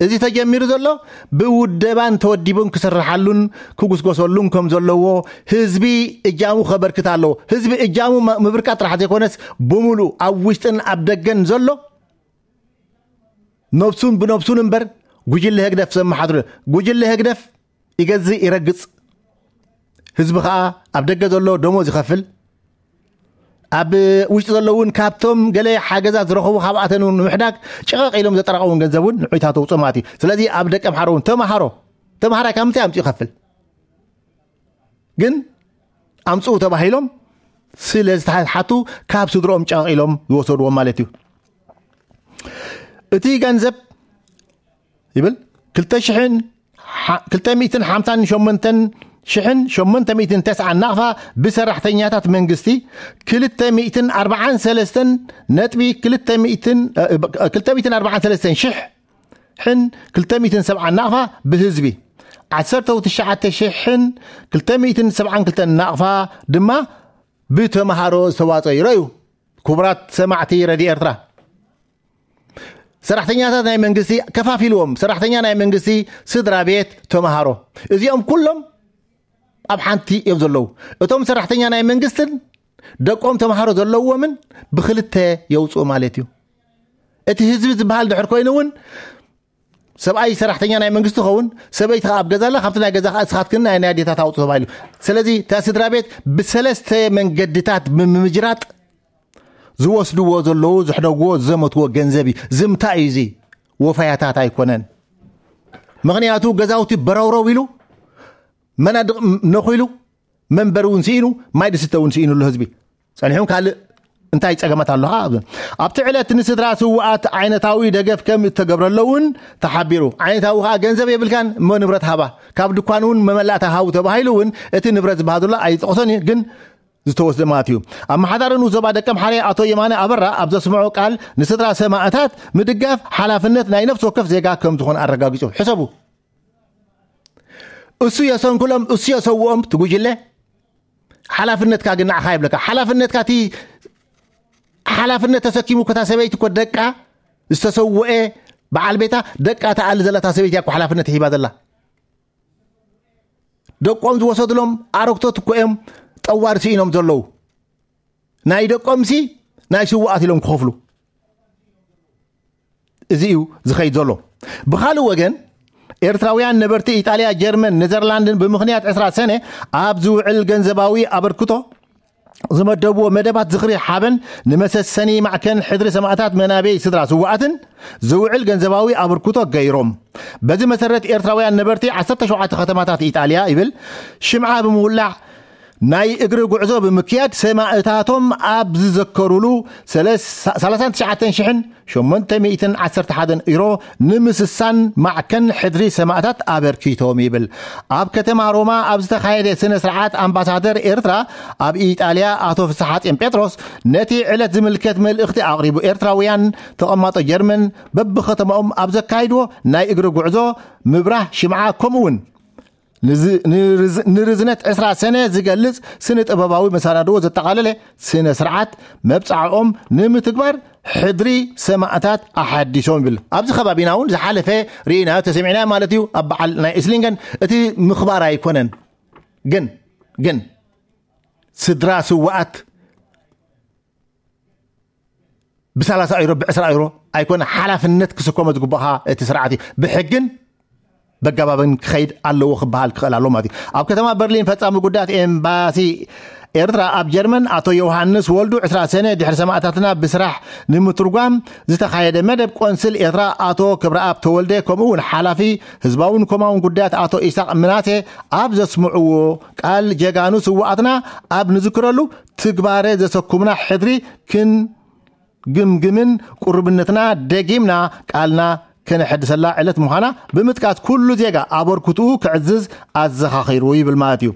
እዚ ተጀሚሩ ዘሎ ብውደባን ተወዲቡን ክስርሓሉን ክጉስጎሰሉን ከም ዘለዎ፣ ህዝቢ እጃሙ ከበርክት ኣለዎ። ህዝቢ እጃሙ ም-፣ ምብርካት ጥራሕ ዘይኮነስ፣ ብምሉእ ኣብ ውሽጥን ኣብ ደገን ዘሎ ነብሱን ብነብሱን እምበር፣ ጉጅለ ህግደፍ ዘመሓድሩ። ጉጅለ ህግደፍ ይገዝእ ይረግጽ። ህዝቢ ኸኣ ኣብ ደገ ዘሎ ደሞዝ ይኸፍል። ኣብ ውሽጢ ዘሎ እውን ካብቶም ገለ ሓገዛት ዝረኸቡ ካብኣተን እውን ንምሕዳግ ጭቐቕ ኢሎም ዘጠራቐሙን ገንዘብ እውን ንዑይታት ተውፅኦ ማለት እዩ። ስለዚ ኣብ ደቀ ኣምሓሩ እውን ተምሃሮ፣ ተምሃራይ ካብ ምንታይ ኣምፅኡ ይኸፍል? ግን ኣምፅኡ ተባሂሎም ስለ ዝተሓቱ ካብ ስድሮኦም ጭቐቕ ኢሎም ዝወሰድዎም ማለት እዩ። እቲ ገንዘብ ይብል ክልተ ሽሕን ሓ-፣ ክልተ ሚእትን ሓምሳን ሸሞንተን ሽሕን ሸሞንተ ሚእትን ተስዓን ናቕፋ ብሰራሕተኛታት መንግስቲ፣ ክልተ ሚእትን ኣርባዓን ሰለስተን ነጥቢ ክልተ ሚእትን፣ እ፣ ክልተ ሚእትን ኣርባዓን ሰለስተን ሽሕ ሕን ክልተ ሚእትን ሰብዓን ናቕፋ ብህዝቢ፣ ዓሰርተ ትሽዓተ ሽሕን ክልተ ሚእትን ሰብዓን ክልተን ናቕፋ ድማ ብተምሃሮ ዝተዋፀ ይረዩ። ክቡራት ሰማዕቲ ረድዮ ኤርትራ፣ ሰራሕተኛታት ናይ መንግስቲ ከፋፊልዎም፣ ሰራሕተኛ ናይ መንግስቲ፣ ስድራ ቤት፣ ተምሃሮ፣ እዚኦም ኩሎም ኣብ ሓንቲ እዮም ዘለዉ። እቶም ሰራሕተኛ ናይ መንግስትን ደቆም ተምሃሮ ዘለዎምን ብክልተ የውፅኡ ማለት እዩ። እቲ ህዝቢ ዝበሃል ድሕር ኮይኑ እውን ሰብኣይ ሰራሕተኛ ናይ መንግስቲ ኸውን፣ ሰበይቲ ከኣ ኣብ ገዛ ኣላ፣ ካብቲ ናይ ገዛ ከኣ እስኻትክን ናይ፣ ናይ ኣዴታት ኣውፅኡ ተባሂሉ። ስለዚ እታ ስድራ ቤት ብሰለስተ መንገድታት ብምምጅራጥ ዝወስድዎ ዘለዉ፣ ዝሕደግዎ፣ ዝዘመትዎ ገንዘብ እዩ። ዝምታ እዩ እዚ፣ ወፈያታት ኣይኮነን። ምኽንያቱ ገዛውቲ በረውረው ኢሉ፣ መናድቕ ነኺሉ፣ መንበሪ እውን ስኢኑ፣ ማይ ዝስተ እውን ስኢኑ ኣሎ ህዝቢ። ጸኒሑ ካልእ እንታይ ጸገማት ኣሎ ኸዓ? ኣብቲ ዕለት ንስድራ ስውኣት ዓይነታዊ ደገፍ ከም እተገብረሎ እውን ተሓቢሩ። ዓይነታዊ ኸዓ ገንዘብ የብልካን እሞ ንብረት ሃባ፣ ካብ ድኳን እውን መመላእታ ሃቡ ተባሂሉ እውን እቲ ንብረት ዝበሃል ዘሎ ኣይጠቕሶን እዩ፣ ግን ዝተወስደ ማለት እዩ። ኣመሓዳሪ ንኡስ ዞባ ደቀምሓረ ኣቶ የማነ ኣበራ ኣብ ዘስምዖ ቃል ንስድራ ሰማእታት ምድጋፍ ሓላፍነት ናይ ነፍሲ ወከፍ ዜጋ ከም ዝኾነ ኣረጋጊጹ። ሕሰቡ። እሱ የሰንክሎም፣ እሱ የሰውኦም፣ እቲ ጉጅለ። ሓላፍነትካ ግን ንዓኻ ይብለካ። ሓላፍነትካ እቲ ሓላፍነት ተሰኪሙ እኮ እታ ሰበይቲ እኮ ደቃ ዝተሰውአ በዓል ቤታ ደቃ ተኣሊ ዘላ እታ ሰበይቲ እያ እኮ ሓላፍነት ሂባ ዘላ። ደቆም ዝወሰድሎም ኣረግቶት እኮ እዮም ጠዋር ስኢኖም ዘለዉ። ናይ ደቆምሲ ናይ ስውኣት ኢሎም ክኸፍሉ። እዚ እዩ ዝኸይድ ዘሎ። ብኻልእ ወገን፣ ኤርትራውያን ነበርቲ ኢጣልያ፣ ጀርመን፣ ኔዘርላንድን ብምኽንያት ዕስራ ሰነ ኣብ ዝውዕል ገንዘባዊ ኣበርክቶ ዝመደብዎ መደባት ዝኽሪ ሓበን ንመሰሰኒ ማዕከን ሕድሪ ሰማእታት መናበይ ስድራ ስውኣትን ዝውዕል ገንዘባዊ ኣበርክቶ ገይሮም። በዚ መሰረት ኤርትራውያን ነበርቲ ዓሰርተ ሸውዓተ ከተማታት ኢጣልያ ይብል ሽምዓ ብምውላዕ ናይ እግሪ ጉዕዞ ብምክያድ ሰማእታቶም ኣብ ዝዘከሩሉ ሰለስ-፣ ሰላሳን ትሽዓተን ሽሕን ሸሞንተ ሚእትን ዓሰርተ ሓደን ዩሮ ንምስሳን ማዕከን ሕድሪ ሰማእታት ኣበርኪቶም ይብል። ኣብ ከተማ ሮማ ኣብ ዝተኻየደ ስነ ስርዓት ኣምባሳደር ኤርትራ ኣብ ኢጣልያ ኣቶ ፍስሓጽዮን ጴጥሮስ ነቲ ዕለት ዝምልከት መልእኽቲ ኣቕሪቡ። ኤርትራውያን ተቐማጦ ጀርመን በብከተማኦም ኣብ ዘካይድዎ ናይ እግሪ ጉዕዞ ምብራህ ሽምዓ ከምኡ እውን ንዝ-፣ ንርዝ-፣ ንርዝነት ዕስራ ሰነ ዝገልጽ ስነ ጥበባዊ መሰናድዎ ዘጠቓለለ ስነ ስርዓት መብጻዕኦም ንምትግባር ሕድሪ ሰማእታት ኣሓዲሶም ይብል። ኣብዚ ከባቢና እውን ዝሓለፈ ርኢናዮ ተሰሚዕናዮ ማለት እዩ። ኣብ በዓል ናይ እስሊንገን እቲ ምኽባር ኣይኮነን። ግን፣ ግን ስድራ ስውኣት ብ30 ዩሮ፣ ብ20 ዩሮ ኣይኮነ ሓላፍነት ክስከሞ ዝግባእ እቲ ስርዓት እዩ። ብሕግን በጋባብን ክኸይድ ኣለዎ ክበሃል ክኽእል ኣለዎ ማለት እዩ። ኣብ ከተማ በርሊን ፈጻሚ ጉዳያት ኤምባሲ ኤርትራ ኣብ ጀርመን ኣቶ ዮሃንስ ወልዱ ዕስራ ሰነ ድሕሪ ሰማእታትና ብስራሕ ንምትርጓም ዝተኻየደ መደብ ቆንስል ኤርትራ ኣቶ ክብረኣብ ተወልደ ከምኡ እውን ሓላፊ ህዝባውን ኮማውን ጉዳያት ኣቶ ኢሳቅ ምናሴ ኣብ ዘስምዕዎ ቃል ጀጋኑ ስውኣትና ኣብ ንዝክረሉ ትግባረ ዘሰኩምና ሕድሪ ክን ግምግምን ቁርብነትና ደጊምና ቃልና ከነሐድሰላ ዕለት ምዃና ብምጥቃስ ኩሉ ዜጋ ኣበርክትኡ ክዕዝዝ ኣዘኻኺሩ ይብል ማለት እዩ።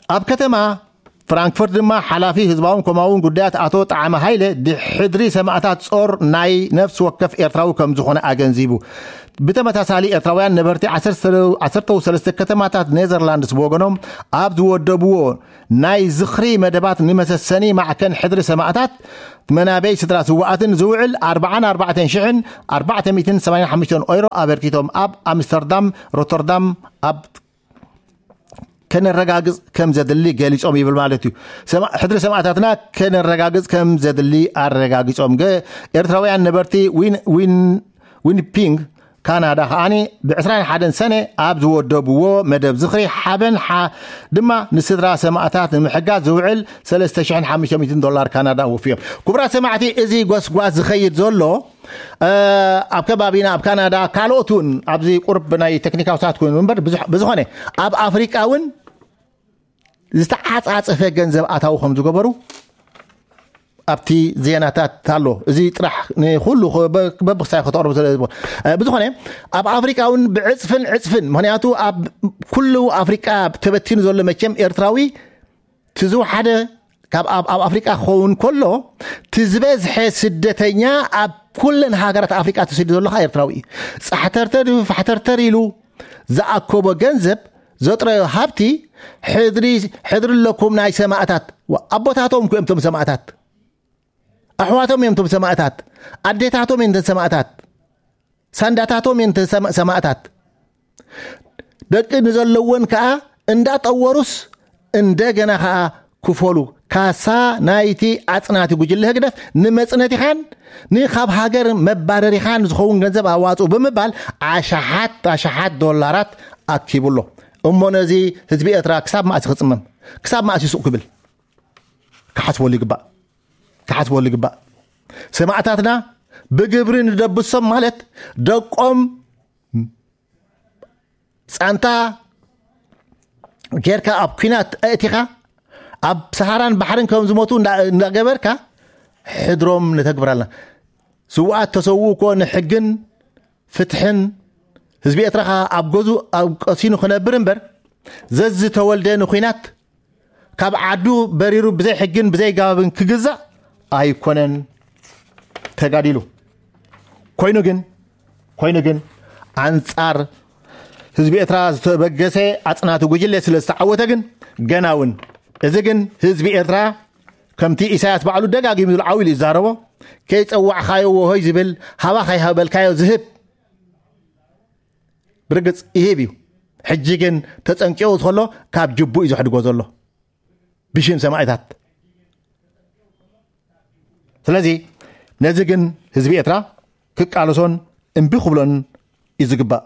ኣብ ከተማ ፍራንክፈርት ድማ ሓላፊ ህዝባውን ኮማውን ጉዳያት ኣቶ ጣዕመ ሃይለ ድሕድሪ ሰማእታት ጾር ናይ ነፍሲ ወከፍ ኤርትራዊ ከም ዝኾነ ኣገንዚቡ። ብተመሳሳሊ ኤርትራውያን ነበርቲ ዓሰርተ ሰለስተ ከተማታት ኔዘርላንድስ ብወገኖም ኣብ ዝወደብዎ ናይ ዝኽሪ መደባት ንመሰሰኒ ማዕከን ሕድሪ ሰማእታት መናበይ ስድራ ስውኣትን ዝውዕል ኣርባዓን ኣርባዕተን ሽሕን ኣርባዕተ ሚእትን ሰማንያን ሓሙሽተን ኦይሮ ኣበርኪቶም ኣብ ኣምስተርዳም ሮተርዳም ኣብ ከነረጋግጽ ከም ዘድሊ ገሊጾም ይብል ማለት እዩ። ሰማ- ሕድሪ ሰማእታትና ከነረጋግጽ ከም ዘድሊ ኣረጋጊጾም። ገ- ኤርትራውያን ነበርቲ ዊን- ዊን- ዊኒፒንግ ካናዳ ከዓኒ ብ21 ሰነ ኣብ ዝወደብዎ መደብ ዝኽሪ ሓበን ሓ- ድማ ንስድራ ሰማእታት ንምሕጋዝ ዝውዕል ሰለስተ ሽሕን ሓሙሽተ ሚእትን ዶላር ካናዳ ወፍዮም። ክቡራት ሰማዕቲ፣ እዚ ጎስጓስ ዝኸይድ ዘሎ ኣብ ከባቢና ኣብ ካናዳ ካልኦት እውን ኣብዚ ቁርብ ናይ ቴክኒካዊ ሰዓት ኮይኑ እምበር ብዝሕ- ብዝኾነ ኣብ ኣፍሪቃ እውን ዝተዓጻጸፈ ገንዘብ ኣታዊ ከም ዝገበሩ ኣብቲ ዜናታት ኣሎ። እዚ ጥራሕ ንኩሉ በብክሳይ ከተቕርቡ ስለ ዝብል ብዝኾነ ኣብ ኣፍሪቃ እውን ብዕፅፍን ዕፅፍን፣ ምክንያቱ ኣብ ኩሉ ኣፍሪቃ ተበቲኑ ዘሎ መቸም ኤርትራዊ ትዝውሓደ ካብ ኣብ ኣብ ኣፍሪቃ ክኸውን ከሎ ትዝበዝሐ ስደተኛ ኣብ ኩለን ሃገራት ኣፍሪቃ ተሰዲዱ ዘሎ ከዓ ኤርትራዊ እዩ። ፃሕተርተር ፋሕተርተር ኢሉ ዝኣከቦ ገንዘብ ዘጥረዮ ሃብቲ ሕድሪ ሕድሪ ኣለኩም ናይ ሰማእታት። ኣቦታቶም እኮ እዮም እቶም ሰማእታት። ኣሕዋቶም እዮም እቶም ሰማእታት። ኣዴታቶም እዮም እተን ሰማእታት። ሳንዳታቶም እዮም እተን ሰማ- ሰማእታት። ደቂ ንዘለወን ከዓ እንዳጠወሩስ እንደገና ከዓ ክፈሉ። ካሳ ናይቲ ኣፅናቲ ጉጅለ ህግደፍ ንመፅነቲኻን ንካብ ሃገር መባረሪኻን ዝኸውን ገንዘብ ኣዋፅኡ ብምባል ኣሽሓት ኣሽሓት ዶላራት ኣኪቡ ኣሎ። እሞ ነዚ ህዝቢ ኤርትራ ክሳብ ማእሲ ክፅመም፣ ክሳብ ማእሲ ሱቕ ክብል ክሓስበሉ ይግባእ። ክሓስበሉ ይግባእ። ሰማእታትና ብግብሪ ንደብሶም ማለት ደቆም ፃንታ ጌርካ ኣብ ኩናት ኣእቲኻ ኣብ ሰሃራን ባሕርን ከም ዝሞቱ እንዳ- እንዳገበርካ ሕድሮም ነተግብራልና። ስውኣት ተሰውኡ እኮ ንሕግን ፍትሕን ህዝቢ ኤርትራ ከኣ ኣብ ገዙ ኣብ ቀሲኑ ክነብር እምበር ዘዝተወልደ ንኩናት ካብ ዓዱ በሪሩ ብዘይ ሕግን ብዘይ ጋብን ክግዛእ ኣይኮነን ተጋዲሉ። ኮይኑ ግን ኮይኑ ግን ኣንጻር ህዝቢ ኤርትራ ዝተበገሰ ኣጽናቲ ጉጅለ ስለ ዝተዓወተ ግን ገና እውን እዚ ግን ህዝቢ ኤርትራ ከምቲ ኢሳያስ ባዕሉ ደጋጊሙ ዝብል ዓው ኢሉ ይዛረቦ ከይጸዋዕኻዮ ወሆይ ዝብል ሃባ ከይሃበልካዮ ዝህብ ብርግጽ ይህብ እዩ። ሕጂ ግን ተጸንቂቑ ከሎ ካብ ጅቡ እዩ ዘሕድጎ ዘሎ ብሽም ሰማእታት። ስለዚ ነዚ ግን ህዝቢ ኤርትራ ክቃለሶን እምቢ ክብሎን እዩ ዝግባእ።